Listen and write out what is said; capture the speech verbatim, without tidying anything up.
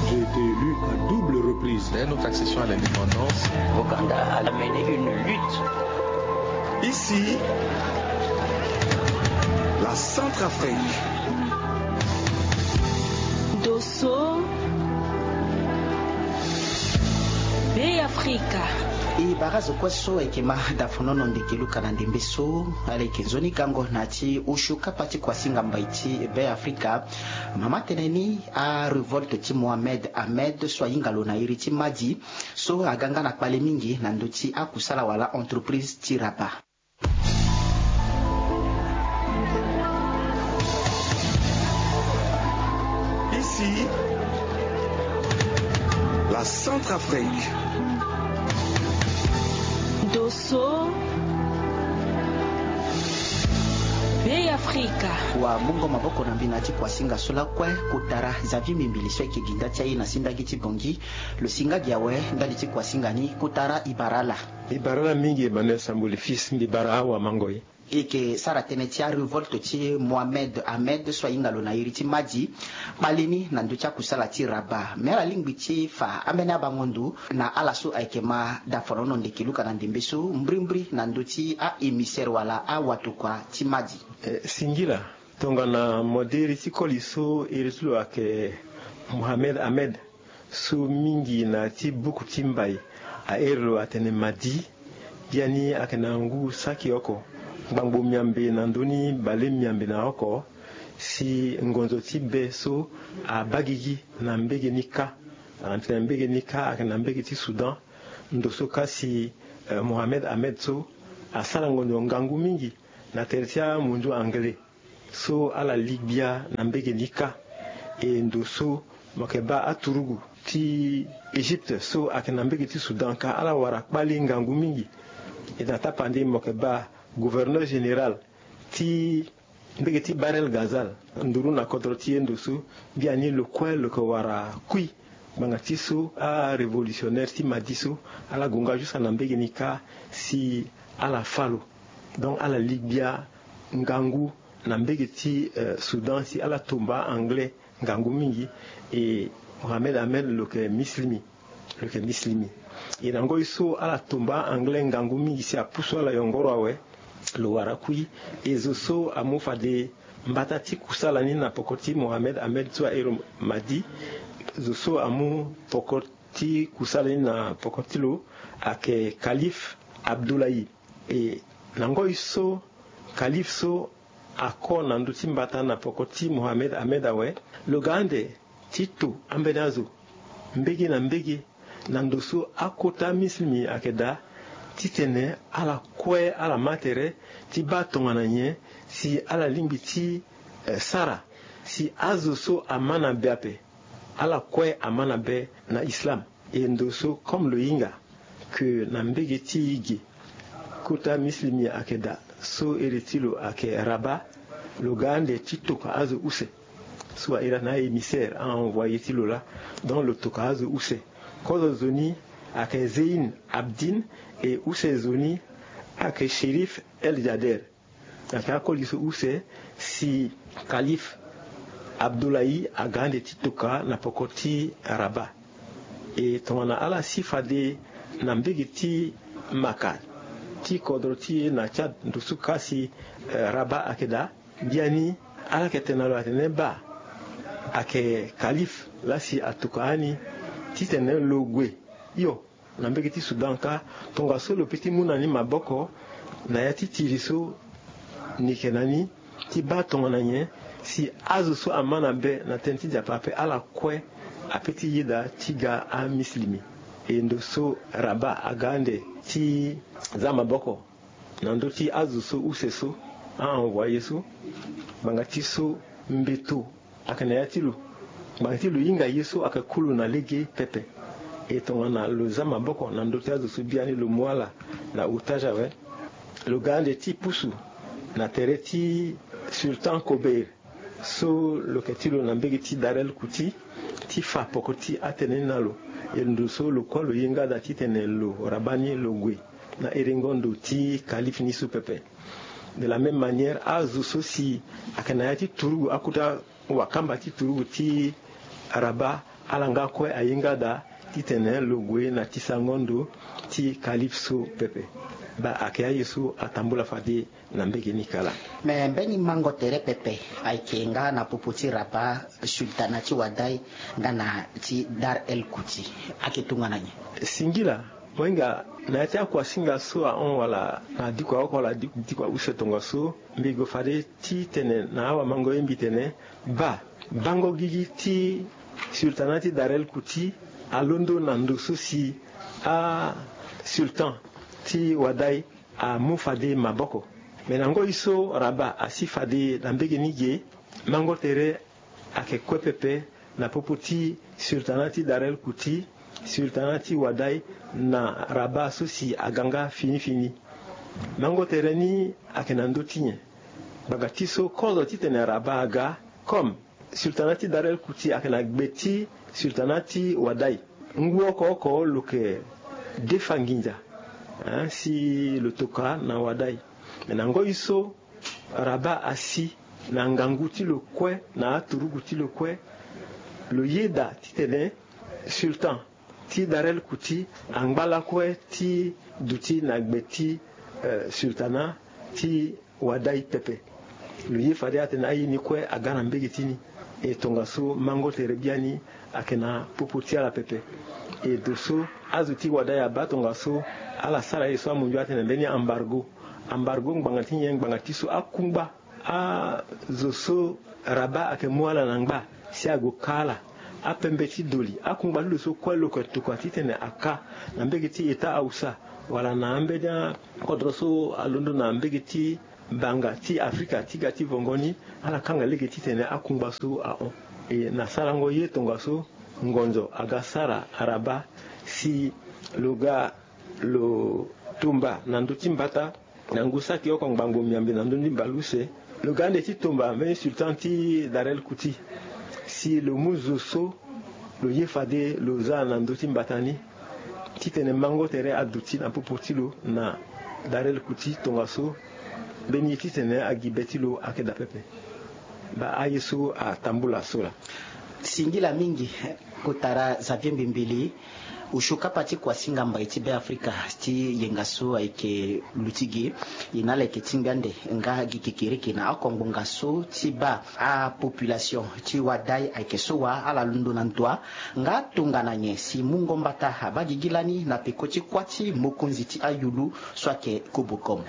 J'ai été élu à double reprise. Dès notre accession à l'indépendance, Ouganda a mené une lutte. Ici, la Centrafrique. Dosso, Bey Afrika. E bara zo kue so ayeke ma dafonono ndeke luka na ndembe so, ala yeke nzoni gango na ya ti osio kapa ti kuasinga mbai ti Bey Afrika. Mama tene ni, arevolte ti Mohamed Ahmed so ahinga lo na iri ti Madi, so aga nga na kpale mingi na ndö ti akusala wala entreprise ti Rabat. Ici, la Centrafrique. Dosso, Bey Afrika. Wa mungo maboko na mbi na ya ti kuasinga so lakue, kotara Xavier Mimbili so ayeke gi nda ti aye na sindangi ti Bongi. Lo si nga gi awe ndali ti kuasinga ni, kotara e bara ala. E bara ala mingi Emmanuel Sambuli Fils, mbi bara awa mango ye. E yeke sara tënë ti arevolte ti Mohamed Ahmed so ahinga lo na iri ti Madi, kpale ni na ndö ti akusala ti Rabat. Me ala lingbi ti fa ambeni abango ndo na ala so ayeke ma dafonono ndeke luka na ndembe so, mbrimbri na ndö ti a-émissaire wala awatokua ti Madi. Eh, singila, tongana modere ti koli so iri ti lo ayeke Mohamed Ahmed, so mingi na ya ti buku ti mbai ahere lo atene Madi, biani ayeke na ngu saki oko, ngbangbo miambe na ndö ni bale miambe na oko, si ngonzo ti be so abaa gigi na mbege ni kâ. Atene mbege ni kâ ayeke na mbege ti Soudan. Ndo so kâ si, eh, Mohamed Ahmed so asara ngonzo ngangu mingi na tere ti amunzu anglais so ala li gbia na mbege ni kâ. E ndo so mo yeke baa aturugu ti Égypte so ayeke na mbege ti Soudan kâ, ala wara kpale ngangu mingi. E na tapande mo yeke baa gouverneur général ti mbege ti Bahr el Ghazal, nduru na kodro ti ye ndo so, biani lo kue lo yeke wara kui. Ngbanga ti so arévolutionnaire ti Madi so ala gue nga jusqu'à na mbege ni kâ si ala fâ lo. Donc ala li gbia ngangu na mbege ti, eh, Soudan si ala tomba anglais ngangu mingi. E Mohamed Ahmed lo yeke mislimi. Lo yeke mislimi. E na ngoi so ala tomba anglais ngangu mingi si apusu ala yongoro awe, lo wara kui. E zo so amu fade mbata ti kusala ni na poko ti Mohamed Ahmed so ahere Madi, zo so amu poko ti kusala ni na poko ti lo ayeke Kalife Abdoulaye. E na ngoi so Kalife so ako na ndö ti mbata na poko ti Mohamed Ahmed awe, lo ga ande ti to ambeni azo mbege na mbege na ndo so akota mislimi ayeke daa, titene ala kue ala ma tere ti baa tongana nyen si ala lingbi ti, eh, sara si azo so ama na be ape, ala kue ama na be na islam. E ndo so comme lo hinga ke na mbege ti e ge kota mislimi ayeke daa, so ere ti lo ayeke Rabat, lo ga ande ti toka azo use so airi na a-émissaire, a-envoyé ti lo laa. Donc lo toka azo use. Kozo zo ni ayeke Zein Abdine, e use zo ni ayeke Chérif El Jader. Ayeke akoli so use si Kalife Abdoulaye aga ande ti toka na poko ti Rabat. E tongana ala si fade na mbege ti Maka ti kodro ti e na Tchad, ndo so kâ si, eh, Rabat ayeke daa, biani ala yeke tene na lo atene baa ayeke Kalife laa si atoka ani titene lo gue. Iyo, na mbege ti Soudan kâ, tongaso lo peut ti mu na ni maboko na ya ti tiri so ni yeke na ni ti baa tongana nyen si azo so ama na be na tënë ti Nzapa ape, ala kue apeut ti yeda ti ga amislimi. E ndo so Rabat aga ande ti za maboko na ndö ti azo so use so, a-envoyé so, ngbanga ti so mbeto ayeke na ya ti lo. Ngbanga ti lo hinga ye so ayeke ku lo na lege pepe. E tongana lo za maboko na ndö ti azo so biani lo mu ala na otage awe, lo ga ande ti pusu na tere ti Sultan Kobeir so lo yeke ti lo na mbege ti Darel Kuti, ti fa poko ti atënë ni na lo. E ndo so lo kue lo ye nga daa titene lo Rabat ni lo gue na erengo ndo ti Kalife ni so pepe. De la même manière, azo so si ayeke na ya ti turugu, akota wakamba ti turugu ti Rabat, Ala nga kue aye nga daa titene lo gue na tisango ndo ti kalipso pepe. Baa ayeke aye so atambula fade na mbege ni kala. Me mbeni mango tere pepe ayeke nga na popo ti Rabat, sultana ti Wadai, nga na ti Dar el Kuti. Ayeke tongana nyen? Singila, mo hinga na ya ti akuasinga so ahon wala na diko aoko wala diko ause tongaso, mbi go fade titene na awamango ye mbi tene baa bango gigi ti sultana ti Dar el Kuti alondo na ndo so si asultan ti Wadai amu fade maboko. Me na ngoi so Rabat asi fade na mbege ni ge, mango tere ayeke kue pepe na popo ti sultana ti Dar el Kuti, sultana ti Wadai na Rabat so si aga nga fini fini. Mango tere ni ayeke na ndö ti nyen? Ngbanga ti so kozo titene Rabat aga, comme sultana ti Dar el Kuti ayeke na gbe ti sultana ti Wadai, ngu oko oko lo yeke defa nginza, hein, si lo toka na Wadai. Me na ngoi so Rabat asi na ngangu ti lo kue, na aturugu ti lo kue, lo yeda titene sultan ti Dar el Kuti angba lakue ti duti na gbe ti, eh, sultana ti Wadai pepe. Lo ye fade atene aye ni kue aga na mbege ti ni. E tongaso mango tere biani ayeke na popo ti ala pepe. E do so azo ti Wadai abaa tongaso ala sara ye so amunzu atene mbeni embargo. Embargo ngbanga ti nyen? Ngbanga ti so akungba azo so Rabat ayeke mu ala na ngba si ague ka ala. Apembe ti doli, akungba ti lo so kue lo yeke tokua titene aka na mbege ti eta Hausa wala na ambeni akodro so alondo na mbege ti banga ti Afrika ti ga ti vongo ni, ala kanga lege titene akungba so ahon. E na sarango ye tongaso ngonzo aga sara Rabat si lo ga lo tumba na ndö ti mbata na ngu saki oko ngbangbo miambe na ndö ni mbale use. Lo ga ande ti tumba mbeni sultan ti Dar el Kuti si lo mu zo so lo ye fade lo za na ndö ti mbata ni, titene mango tere aduti na popo ti lo na Dar el Kuti tongaso mbeni ye titene agi be ti lo ayeke daa pepe. Baa aye so atambula so laa. Singila mingi. Kotara Xavier Mbimbili, osio kapa ti kuasinga mbai ti Beafrika ti yenga so ayeke luti gi, e na ala yeke tingbi ande nga gi kekereke na oko ngbonga so ti baa apopulation ti Wadai ayeke so wa ala londo na ndua, nga tongana nyen si mungo mbata abaa gigi lani na peko ti kuâ ti mokonzi ti ayulu so ayeke Kobokom.